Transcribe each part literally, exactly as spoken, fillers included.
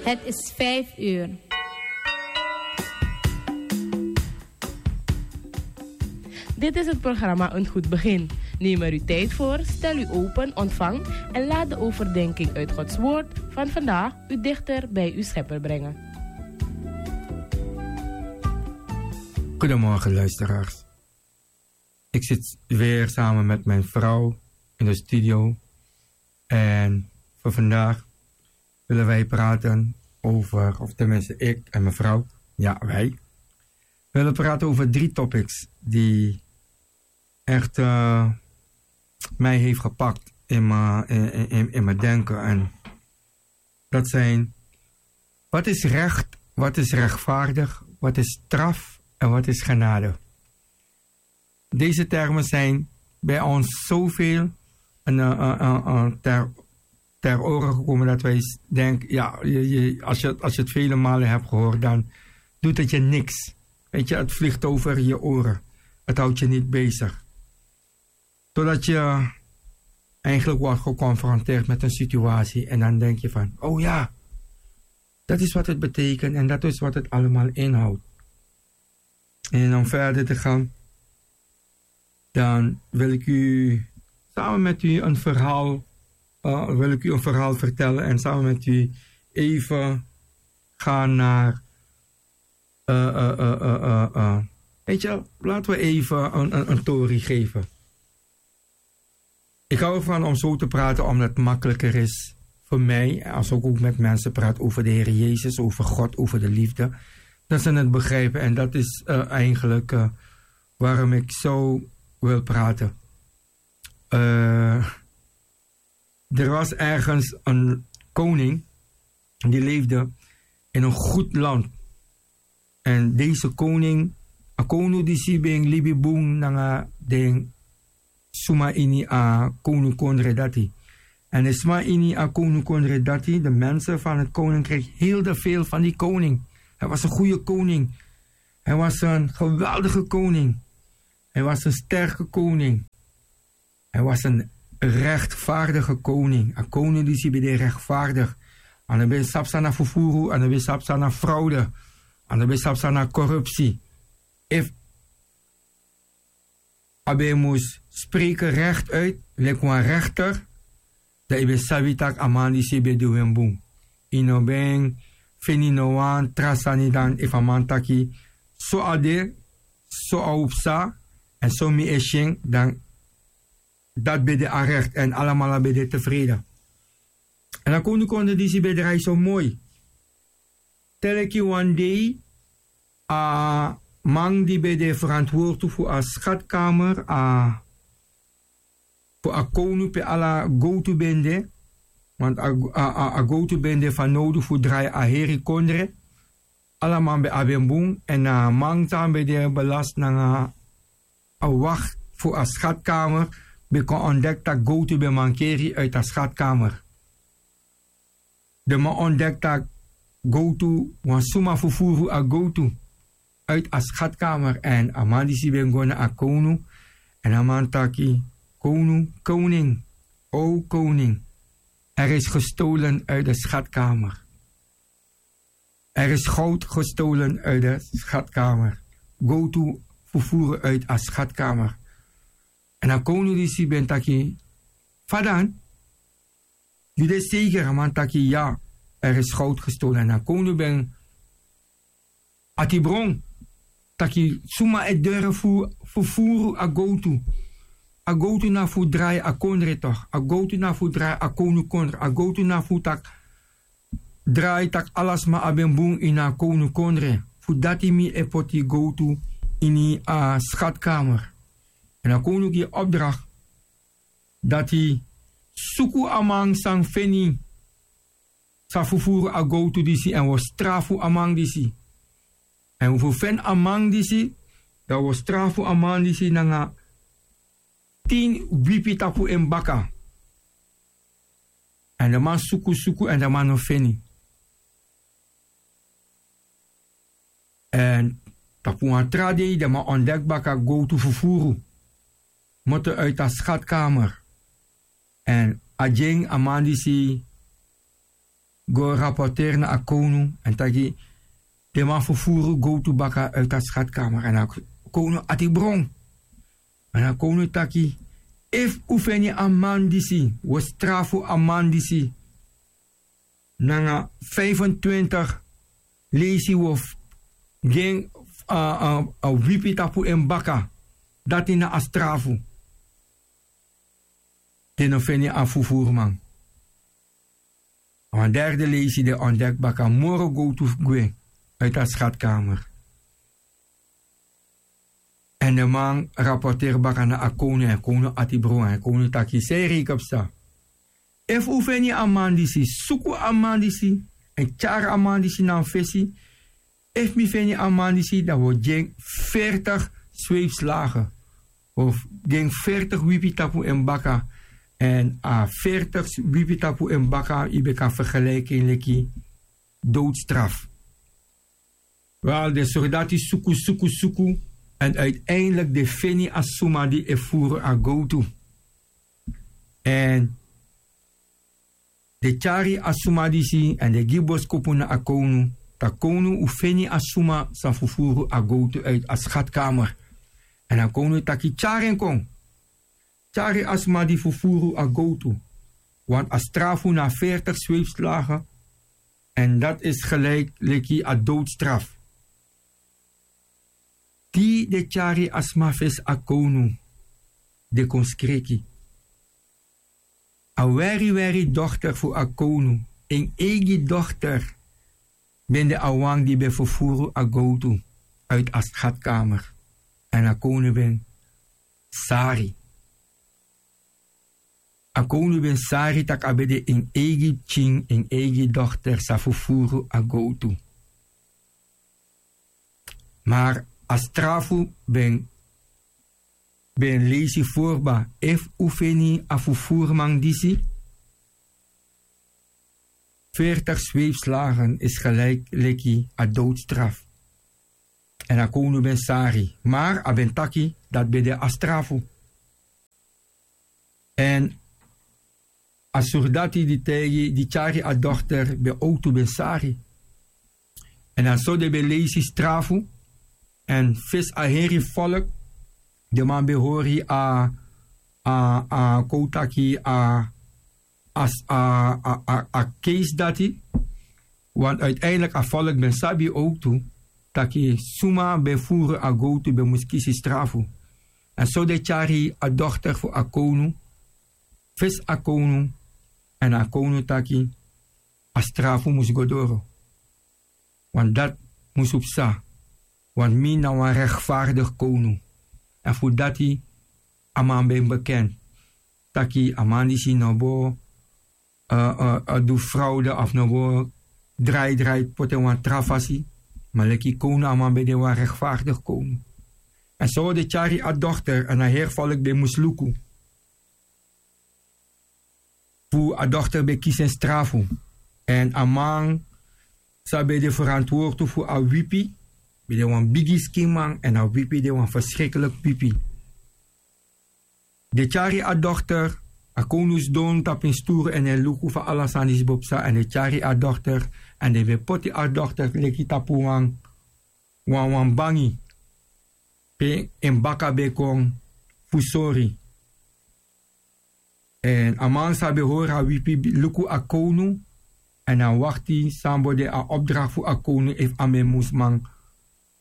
Het is vijf uur. Dit is het programma Een Goed Begin. Neem er uw tijd voor, stel u open, ontvang en laat de overdenking uit Gods Woord van vandaag u dichter bij uw Schepper brengen. Goedemorgen, luisteraars. Ik zit weer samen met mijn vrouw in de studio. En voor vandaag willen wij praten over, of tenminste ik en mevrouw, ja, wij willen praten over drie topics die echt eh, mij heeft gepakt in mijn, in, in, in mijn denken. En dat zijn, wat is recht, wat is rechtvaardig, wat is straf en wat is genade? Deze termen zijn bij ons zoveel en, eh, eh, eh, eh, ter, ter oren gekomen dat wij s- denken, ja, je, je, als, je, als je het vele malen hebt gehoord, dan doet het je niks. Weet je, het vliegt over je oren. Het houdt je niet bezig. Totdat je eigenlijk wordt geconfronteerd met een situatie en dan denk je van, oh ja, dat is wat het betekent en dat is wat het allemaal inhoudt. En om verder te gaan, dan wil ik u samen met u een verhaal, eh, wil ik u een verhaal vertellen en samen met u even gaan naar, eh, eh, eh, eh, eh, eh. Weet je, laten we even een, een, een tori geven. Ik hou ervan om zo te praten, omdat het makkelijker is voor mij, als ik ook met mensen praat over de Heer Jezus, over God, over de liefde, dat ze het begrijpen. En dat is eh, eigenlijk eh, waarom ik zo wil praten. Eh, er was ergens een koning die leefde in een goed land. En deze koning, a kownu disi ben libi bun nanga den suma ini a kownu kondre dati. En de suma ini a kownu kondre dati, de mensen van het koninkrijk, hielden veel van die koning. Hij was een goede koning. Hij was een geweldige koning. Hij was een sterke koning. Hij was een rechtvaardige koning. A kownu disi ben de rechtvaardig. A no ben sabi san na fufuru, a no ben sabi san na fraude, a no ben sabi san na corruptie. Efu a ben mus spreken recht uit, leki wan rechter, dan yu ben sabi tak' a man disi ben du en bun. Yu no ben feni no wan tra sani dan efu a man taki so a de, so a o psa, èn so mi e si en, dan dati ben de a recht èn alamala ben de tevreden. Èn a kownu kondre disi ben drai so moi. Te leki wan dei a man di ben de ferantwortu fu a skatkamer, a fu a kownu pe ala gowtu ben de, want a, a, a, a gowtu ben de fanowdu fu drai a heri kondre. Ala man ben abi en bun, èn a man san ben de belast nanga a wak fu a skatkamer ben kon ontdek tak' gowtu ben mankeri uit a skatkamer. Den man ontdek tak' gowtu, wan suma fufuru a gowtu uit a skatkamer. Èn a man disi ben go na a kownu, èn a man taki: Kownu, koning, o koning, er is gestolen uit de schatkamer. Er is goud gestolen uit de schatkamer. Gowtu fufuru uit a schatkamer. Èn a kownu disi ben taki: Fa dan? Yu de zeker? A man taki: Ya, er is goud gestolen. Èn a kownu ben ati bron taki: Suma e durfu fufuru a gowtu? A gowtu na fu drai a kondre toch. A gowtu na fu drai a kownu kondre. A gowtu na fu tak' drai tak' ala sma abi en bun ini a kownu kondre. Fu dati mi e poti gowtu ini a schatkamer. Èn a kownu gi opdracht dati suku a man san feni, san fufuru a gowtu disi, èn wi o strafu a man disi. Èn efu wi feni a man disi, dan wi o strafu a man disi nanga tin wipi tapu en baka. Èn den man suku suku èn den man no feni. Èn tapu wan tra dei den man ontdek baka gowtu fufuru moto uit a schatkamer. Èn a gi en a man disi go rapporteri na a kownu èn taki: den man ferfuru gowtu baka uiti a skatkamer. Èn a kownu ati bron. Èn a kownu taki: efu un feni a man disi, un o strafu a man disi nanga fifentwintig leisi, un o gi en a wipi tapu en baka. Dati na a strafu. Den no feni a ferfuruman. Wan derde leisi, den ontdeki baka moro gowtu gwe uiti a skatkamer. Èn den man rapporteri baka na a kownu, èn kownu ati bron, èn kownu taki: san yu reiki psa? Efu un feni a man disi, suku a man disi èn tyari a man disi na mi fesi. Efu mi feni a man disi, dan un o gi en fertig sweipi slagen. Un o gi en fertig wipi tapu en baka. Èn a fertig wipi tapu en baka, yu ben kan fergeliki en leki doodstraf. Wel, den sordati suku, suku, suku. Èn uiteindelijk den feni a suma di e furu a gowtu. Èn den tyari a suma disi èn den gi boskopu na a kownu: taki: kownu, un feni a suma san ferfuru a gowtu uiti a skatkamer. Èn a kownu taki: tyari en kon. Tyari a sma di ferfuru a gowtu, want a strafu na fertig sweipislagen, èn dati is gelijk leki a doodstraf. Di den tyari a sma fesi a kownu, den kon skriki. A weri weri dochter fu a kownu, en eigi dochter, ben de a wan di ben ferfuru a gowtu uiti a skatkamer. Èn a kownu ben sari. A kownu ben sari tak' a ben de en eigi pikin, en eigi dochter sa ferfuru a gowtu. Maar a strafu ben, ben leisi fu kba: efu un feni a ferfuruman disi, veertig zweepslagen is gelijk leki a doodstraf. Èn a kownu ben sari, maar a ben taki dati ben de a strafu. Èn a surdati di taigi, di tyari a dochter, ben owktu ben sari. Èn a so den ben leisi strafu. Èn fesi a heri folk, den man ben hori a, a, a kon taki a, a, a, a, a keisi dati. Want uiteindelijk a folk ben sabi owktu taki suma ben furu a gowtu ben mus kisi strafu. Èn so den tyari a dochter fu a kownu fesi a kownu, èn a kownu taki a strafu mus go doro. Want dati mus psa, want mi na wan rechtvaardig kownu. Èn fu dati a man ben bekend taki a man disi no bo, eh, eh, eh, du fraude of no bo drai drai poti en wan tra fasi. Ma leki kownu a man ben de wan rechtvaardig kownu. Èn so den tyari a dochter, èn a heri folk ben mus luku fu a dochter ben kisi en strafu. Èn a man san ben de ferantwortu fu a wipi, ben de wan bigi skinman, èn a wipi de wan verschrikkelijk wipi. Den tyari a dochter, a kownu sidon tapu en sturu èn e luku fa ala sani disi bo psa, èn den tyari a dochter, èn den ben poti a dochter leki tapu wan, wan, wan bangi, pe en baka ben kon fu sori. Èn a man san ben hori a wipi luku a kownu, èn a wakti san bo de a opdracht fu a kownu, efu a man mus man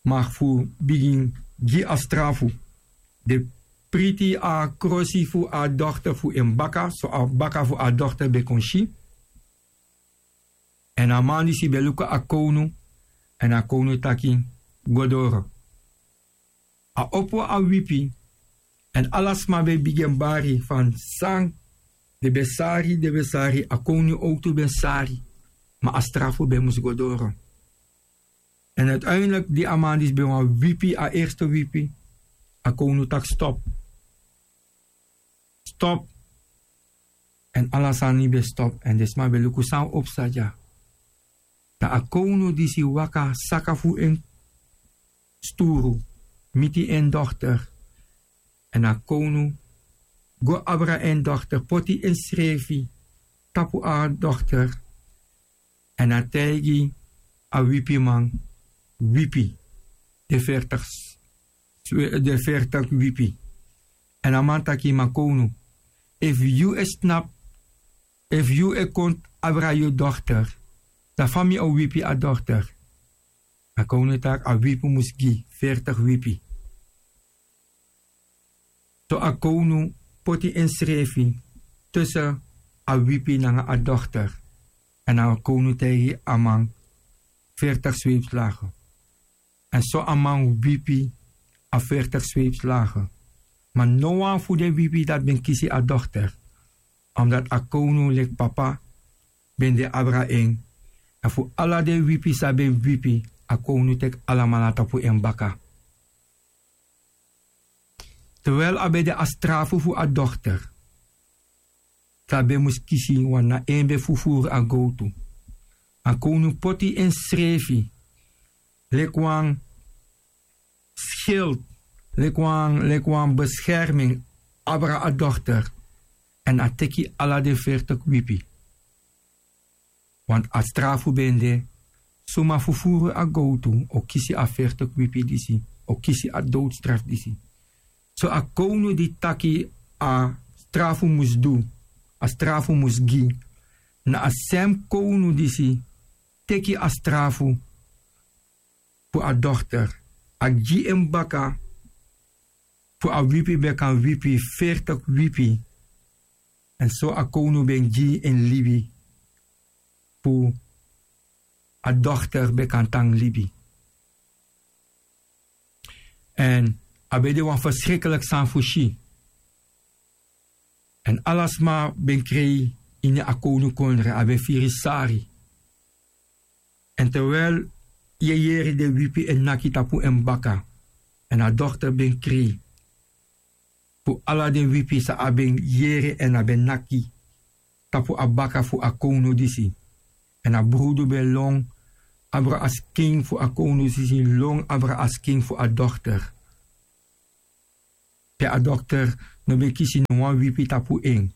mag fu bigin gi a strafu. Den priti a krosi fu a dochter fu en baka, so a baka fu a dochter ben kon si. Èn a man disi ben luku a kownu, èn a kownu taki: go doro. A opo a wipi, èn ala sma ben bigin bari fan san den ben sari, den ben sari, a kownu owktu ben sari, ma a strafu ben mus go doro. Èn uiteindelijk di a man disi ben wan wipi, a eerste wipi, a kownu taki: stop. Stop. Èn ala sani ben stop, èn den sma ben luku san o psa dya. Dan a kownu disi waka saka fu en sturu, miti en dochter. Èn a kownu go abra en dochter, poti ensrefi tapu a dochter. Èn a taigi a wipiman, wipi, den fertig s-, den fertig wipi. Èn a man taki: Ma kownu, efu yu e snap, efu yu e kon abra yu dochter, dan fa mi o wipi a dochter? A kownu taki a wipi mus gi fertig wipi. So a kownu poti ensrefi tussen a wipi nanga a dochter. Èn a kownu taigi a man: Veertig zweepslagen. Èn so a man wipi a veertig zweepslagen. Ma nowan fu den wipi dati ben kisi a dochter, omdat a kownu leki papa ben de abra en. Èn fu ala den wipi san ben wipi, a kownu teki alamala tapu en baka. Terwijl a ben de a strafu fu a dochter, san a ben mus kisi, want na en ben fufuru a gowtu, a kownu poti ensrefi leki wan schild, leki wan, leki wan bescherming abra a dochter. Èn a teki ala den veertig wipi. Want a strafu ben de: suma fufuru a gowtu o kisi a veertig wipi disi, o kisi a doodstraf disi. So a kownu di taki a strafu mus du, a strafu mus gi, na a sem kownu disi teki a strafu fu a dochter, a gi en baka fu a wipi, ben kan wipi veertig wipi. Èn so a kownu ben gi en libi fu a dochter ben kan tan libi. Èn a ben de wan verschrikkelijk sani fu si. Èn ala sma ben krei ini a kownukondre, a ben firi sari. Èn terwijl yu e yere den wipi e naki tapu en baka, èn a dochter ben krei fu ala den wipi san a ben yere èn a ben naki tapu a baka fu a kownu disi. Èn a brudu ben lon abra a skin fu a kownu disi, lon abra a skin fu a dochter. Pe a dochter no ben kisi no wan wipi tapu en.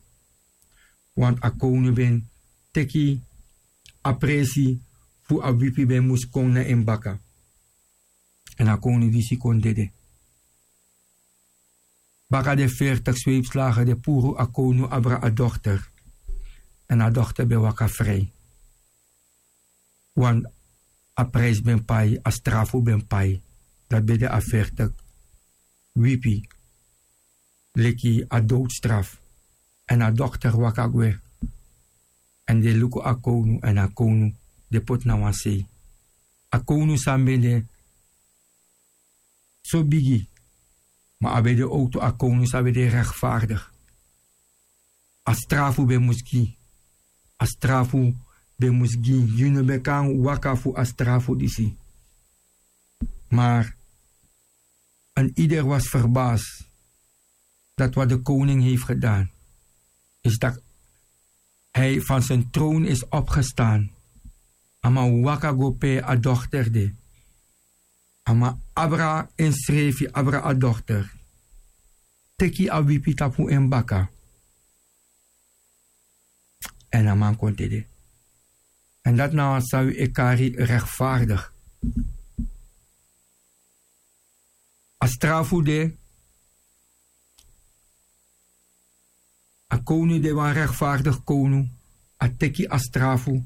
Want a kownu ben teki a presi fu a wipi ben mus kon na en baka. Èn a kownu disi kon dede. Baka den veertig zweepslagen, den puru a kownu abra a dochter. Èn a dochter ben waka vrij. Want a prijs ben pai, a strafu ben pai. Dati ben de a veertig wipi, leki a doodstraf. Èn a dochter waka gwe. Èn den luku a kownu, èn a kownu den poti na wan sei. A kownu san ben de so bigi, ma a ben de owktu a kownu san ben de rechtvaardig. A strafu ben mus gi. A strafu ben mus gi. Yu no ben kan waka fu a strafu disi. Maar een ieder was verbaasd dat wat de koning heeft gedaan, is dat hij van zijn troon is opgestaan. A man waka go pe a dochter de. A man abra ensrefi, abra a dochter, teki a wipi tapu en baka. Èn a man kon dede. Èn dati na wan sani wi e kari rechtvaardig. A strafu de, a kownu de wan rechtvaardig kownu, a teki a strafu,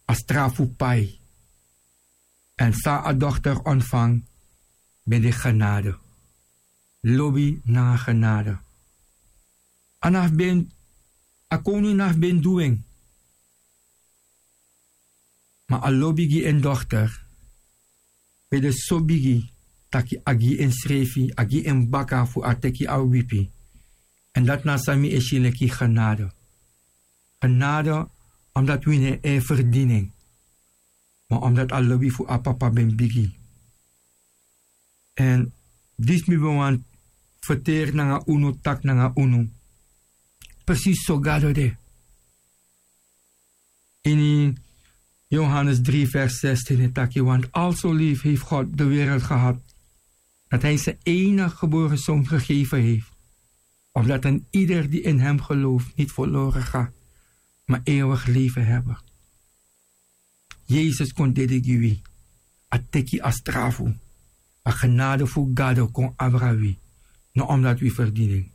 a strafu pai. Èn san a dochter ontvangt, ben de genade. Lobi nanga genade. A no abi ben, a kownu no abi ben du en. Ma a lobi gi en dochter ben de so bigi, taki a gi ensrefi, a gi en baka fu a teki a wipi. Èn dati na san mi e si leki genade. Genade, omdat wi no e verdien en. Ma omdat a lobi fu a papa ben bigi. Èn disi mi ben wani ferteri nanga unu, taki nanga unu. Precies so Gado de. Ini Johannes drie vers zestien e taki: Want al zo lief heeft God de wereld gehad, dat hij zijn enige geboren zoon gegeven heeft, opdat een ieder die in hem gelooft niet verloren gaat, maar eeuwig leven hebben. Yesus kon dede gi wi. A teki a strafu. A genade fu gado kon abra wi. No omdat wi ferdini en,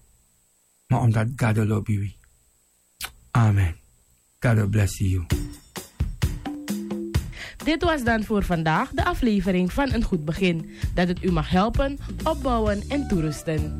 ma omdat gado lobi wi. Amen. Gado blesi yu. Dit was dan voor vandaag de aflevering van Een Goed Begin. Dat het u mag helpen, opbouwen en toerusten.